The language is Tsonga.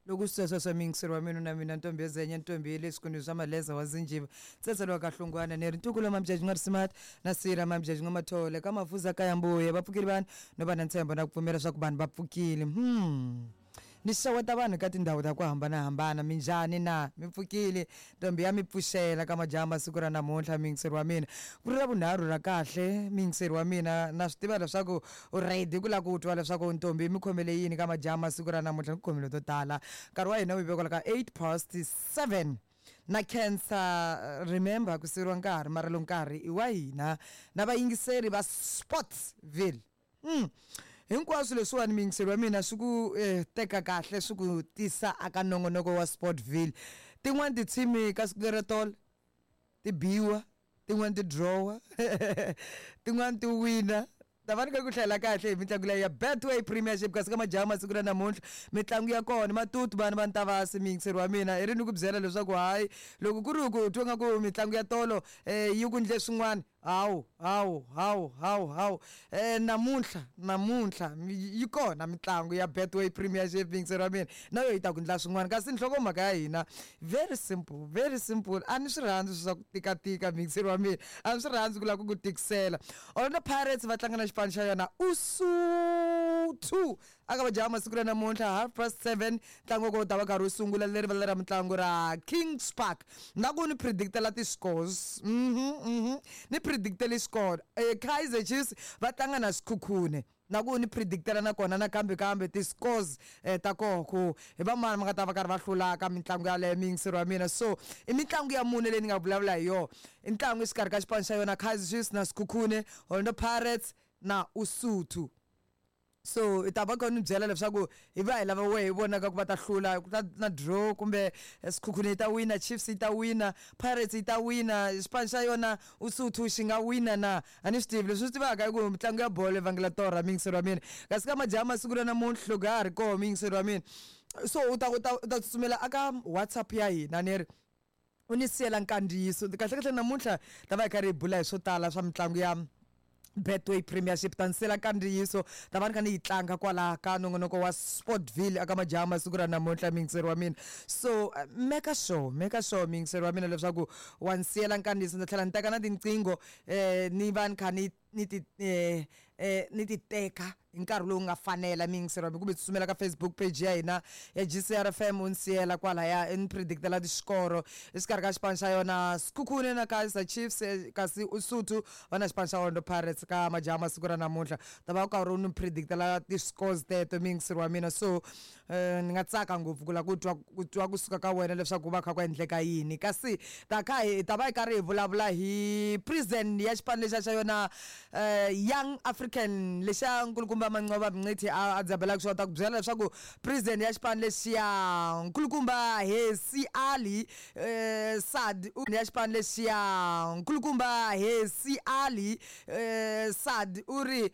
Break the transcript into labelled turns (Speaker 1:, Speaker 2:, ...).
Speaker 1: Loko swi sweswo miyingiseri wa mina na mina ntombi yezenya ntombi ya le swikundu swa maleza wa zinjiva tsetse wa kahlungwana ni ri ntukulu wa mamjaji nga risimati na sira mamjaji nga mathole ka mafuza ka ya mbuya va pfukile vanhu no va na ntshembo na ku pfumela swa ku vanhu va pfukile. Ni xeweta vanhu ka tindhawu ta ku hambanahambana. Minjhani na? Mi pfukile? Ntombi ya mi pfuxela ka majaha masiku ra namuntlha miyingiseri wa mina. Ku ri ra vunharhu ra kahle miyingiseri wa mina na swi tiva leswaku u ready ku lava ku twa leswaku ntombi mi khomele yini ka majaha masiku ra namuntlha ni khomile to tala. Nkarhi wa hina wu yi ka 7:08 na khensa. Remember ku siveriwa nkarhi mara lo nkarhi i wa hina na vayingiseri va Sportsville. Hinkwaswo leswiwani miyingiseri wa mina swi ku teka kahle swi ku tisa aka nongonoko wa Sportville. Tin'wani tithimi ka siku lero tolo ti biwa, tin'wani ti drawa, tin'wani ti wina. Ta va ni ku hlayela kahle hi mitlangu leyi ya Betway Premiership kasi ka majaha masiku ra namuntlha mitlangu ya kona matutu vana va ntavasi miyingiseri wa mina i ri ni ku byela leswaku hayi loko ku ri ku twa nga ku mitlangu ya tolo yi ku ndle swin'wana hawu hawu hawu hawu hawu namuntlha namuntlha yi kona mitlangu ya Betway Premiership miyingiseri wa mina na yo yi ta ku ndla swin'wana. Kasi nhlokomhaka ya hina very simple, very simple. A ni swi rhandzi swa ku tikatika miyingiseri wa mina, a ni swi rhandzi ku lava ku ku tikisela. Orlando Pirates va tlanga na xipano xa yona Usuthu aka majaha masiku ra namuntlha 7:30. Ntlangu wa kona wu ta va karhi wu sungula leri rivala ra mitlangu ra Kings Park. Na ku ni predictela ti-scores, ni predictele score. Kaizer Chiefs va tlanga na Sekhukhune na ku ni predictela na kona nakambe kambe ti-scores ta koho ku hi va mani va nga ta va karhi va hlula ka mitlangu yaleyo miyingiseri wa mina. So i mitlangu ya mune leyi ni nga vulavula hi yona. I ntlangu exikarhi ka xipano xa yona Kaizer Chiefs na Sekhukhune, Orlando Pirates na Usuthu. So i ta va kha ni byela leswaku hi va hi lava wehe hi vonaka ku va ta hlula, ku ta na draw kumbe Sekhukhune yi ta wina, Chiefs yi ta wina, Pirates yi ta wina, xipano xa yona Usuthu xi nga wina na? A ni swi tivi. Leswi swi tivaka i ku mitlangu ya bolo yi vangela torha miyingiseri wa mina. Kasi ka majaha masiku ra namuntlha loko ya ha ri koho miyingiseri wa mina, so u ta tsutsumela aka WhatsApp ya hina ni ri u ni siyela nkandziyiso. Kahle kahle namuntlha ta va hi karhi hi bula hi swo tala swa mitlangu ya Betway Premiership. Ta ni siyela nkandziyiso, ta va ni kha ni yi tlanga kwala ka nongonoko wa Sportville aka majaha masiku ra namuntlha miyingiseri wa mina. So make sure miyingiseri wa mina leswaku wa ni siyela nkandziyiso. Ndzi tlhela ni teka na tinqingho ni va ni kha ni ti teka hi nkarhi lowu nga fanela miyingiseri wa mina, kumbe tsutsumela ka Facebook page ya hina ya GCR FM u ni siyela kwalaya ni predictela tixikoro exikarhi ka xipano xa yona Sekhukhune na Kaizer Chiefs, kasi Usuthu va na xipano xa Orlando Pirates ka majaha masiku ra namuntlha. Ta va u karhi u ni predictela ti-scores teto miyingiseri wa mina. So ni nga tsaka ngopfu ku lava ku twa kusuka ka wena leswaku ku va kha ku endleka yini. Kasi ta kha hi ta va hi karhi hi vulavula hi prison ya xipano lexiya xa yona Young African lexiya nkulukumba Manqoba Mngqithi a dzabelaka xona. Ta ku byela leswaku prison ya xipano lexiya nkulukumba Hersi Ali Sad ya xipano lexiya nkulukumba Hersi Ali Sad u ri.